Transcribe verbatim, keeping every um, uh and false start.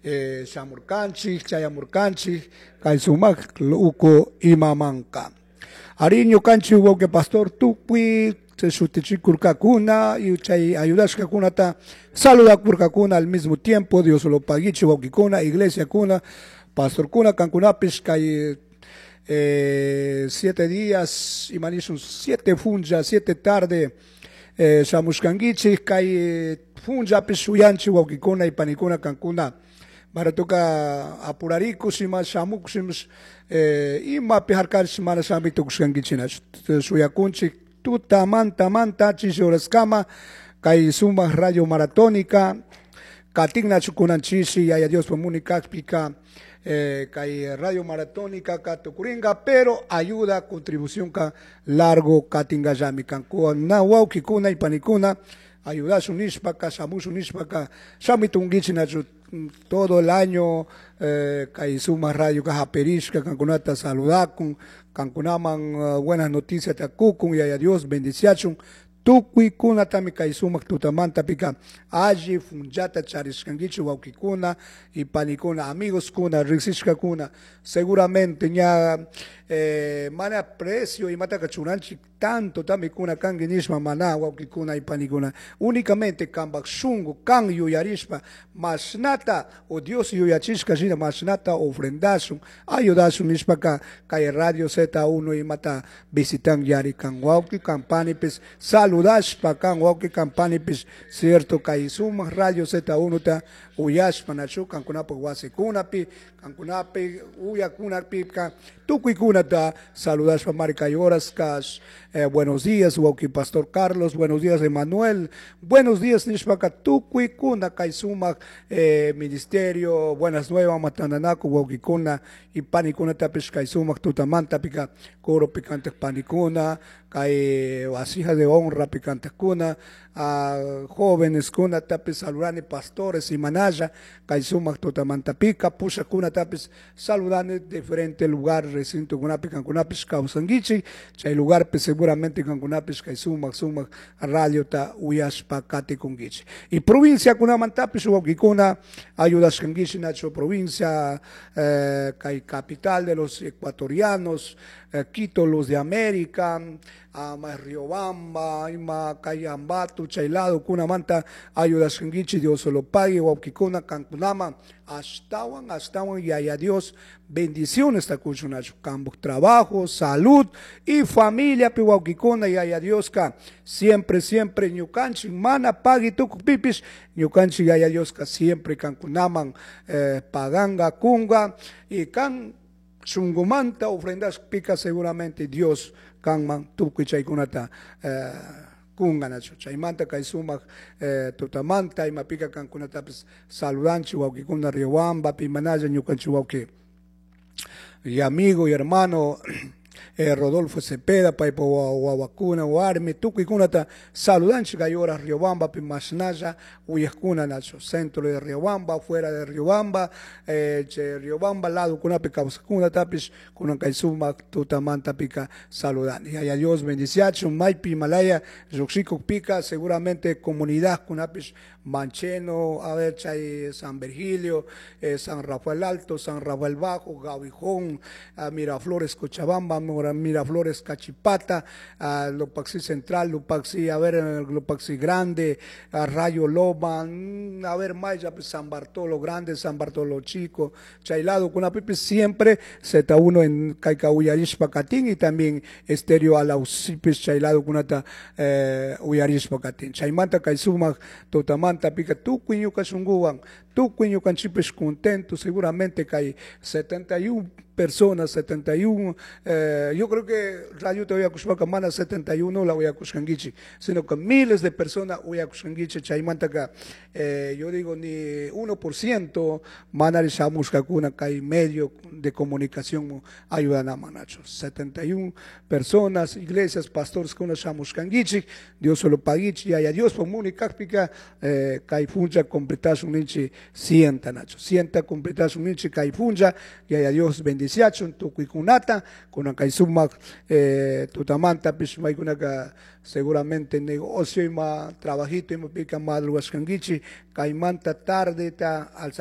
Eh, shamurkanchik, chayamurkanchik, kay sumak uku imamanka. Ari ñukanchik wawqi pastor tukuy shutichikurkakuna y chay ayudashkakunata saludakurkakuna al mismo tiempo. Dios lo paguichi wawqikuna, iglesiakuna, pastorkuna, kankunapish kay eh, siete días, imanishun siete funcha, siete tarde, eh, shamushkankichik, kay funchapish shuyanchik wawqikuna y panikuna kankuna. Maratuka apurarikus ima shamukush eh, imapi harkarish mana shami tukushkankichina shuyakunchik tutamanta manta chishi horaskama kay sumak radio maratónica katiknachu kunan chishi Yaya Diospa muni kakpika eh, kay radio maratónica ka tukuringa, pero ayuda contribución ka largo katingallami kankuna wawqikuna y panikuna ayudashun nishpaka shamushun nishpaka shamitunkichinachu todo el año eh, kay sumak radio ka haperishka kankunata saludakun kankunaman uh, buenas noticias takukun Yaya Dios bendiciachun tukuykunatami kay sumak tutamanta pika alli funchata charishkankichik wawqikuna y panikuna amigos kuna riksishkakuna seguramente ña eh, mana precio imataka churanchik tanto tami kuna kanki nishpa mana wawqikuna y panikuna únicamente kanpak shunku kan yuyarishpa mashnata o Dios yuyachishka shina mashnata ofrendashun ayudashun nishpaka kay radio Z uno imata visitan yari kan wawqi kan panipis saludashpa kan wawqi kan panipis cierto kay sumak radio Z uno ta uyashpa nachu kankunapak wasikunapi kankunapi uyakunapika tukuykunata saludashpa mari kay horas kash eh, buenos días wawqi pastor Carlos, buenos días Emanuel, buenos días nishpaka tukuykuna kay sumak eh, ministerio buenas nuevas matandanaku wawqikuna y panikunatapish kay sumak tutamantapika coro picante panikuna kay vasija de honra picantekuna a jóvenes kuna tapis saludani pastores y manaya kay sumak tutamantapika pushakunatapis saludani diferente lugar recinto kunapi kankunapish kawsankichik chay lugarpi seguramente kankunapish kay sumak sumak radiota uyashpa katikunkichik y provincia kunamantapish wawqikuna ayudashkankichik nacho provincia eh, kay capital de los ecuatorianos eh, Quito los de América ama Riobamba ima kay Ambato chay lado kunamanta ayudashkankichik Dios lo pague wawqikuna kankunama ashtawan ashtawan Yaya Dios bendiciones takuchunachu kampak trabajo salud y familia pi wawqikuna Yaya Dioska siempre siempre ñukanchik mana pagui tukukpipish ñukanchik Yaya Dioska siempre kankunaman eh, paganga kunga y kan shunkumanta ofrendashpika seguramente Dios kanman tukuy chaykunata eh, kunkanachu chaymanta kay sumak eh, tutamanta imapika kankunatapis saludanchik wawqikuna Riobambapi manalla ñukanchik wawqi y amigo y hermano eh, Rodolfo Cepeda paypa wawakuna warmi tukuykunata saludanchik kay horas Riobambapi mashnalla uyakuna nachu centro de Riobamba fuera de Riobamba eh, chay Riobamba lado kunapi kawsakkunatapish kunan kay sumak tutamantapika saludani Yaya Dios bendiciachun maypi Himalaya lluqshikukpika seguramente comunidad kunapish Mancheno, a ver, chay San Virgilio, eh, San Rafael Alto, San Rafael Bajo, Gavijón, ah, Miraflores, Cochabamba, Miraflores, Cachipata, ah, Lupaxi Central, Lupaxi, a ver, Lupaxi Grande, ah, Rayo Loma, mm, a ver, Maya, pues, San Bartolo Grande, San Bartolo Chico, chay lado, kunapipish, siempre Z uno en kayka uyarishpa katin y también Estéreo Alausipis, chay lado kunata eh, uyarishpa katin. Chaymanta kay sumak tutamanta pika tukuy ñuka shunkuwan tukuy ñukanchikpish contento seguramente kay setenta y uno personas, setenta y uno, eh, yo creo que radio te uyakushpaka mana setenta y uno la uyakushkankichik, sino que miles de personas uyakushkankichik, chaymantaka, eh, yo digo ni uno por ciento mana shamushkakuna kay medio de comunicación ayudan a manacho. setenta y uno personas, iglesias, pastores kuna shamushkankichik, Dios solo paguichi, y a Dios por munikakpika, eh, kay funcha completashun ninchi sienta nacho, sienta completashun ninchi kay funcha, y a Dios bendice. bendiciachun tukuykunata kunan kay sumak eh, tutamantapish maykunaka seguramente negocio ima trabajito imapika madrugashkankichik kaymanta tardeta alzari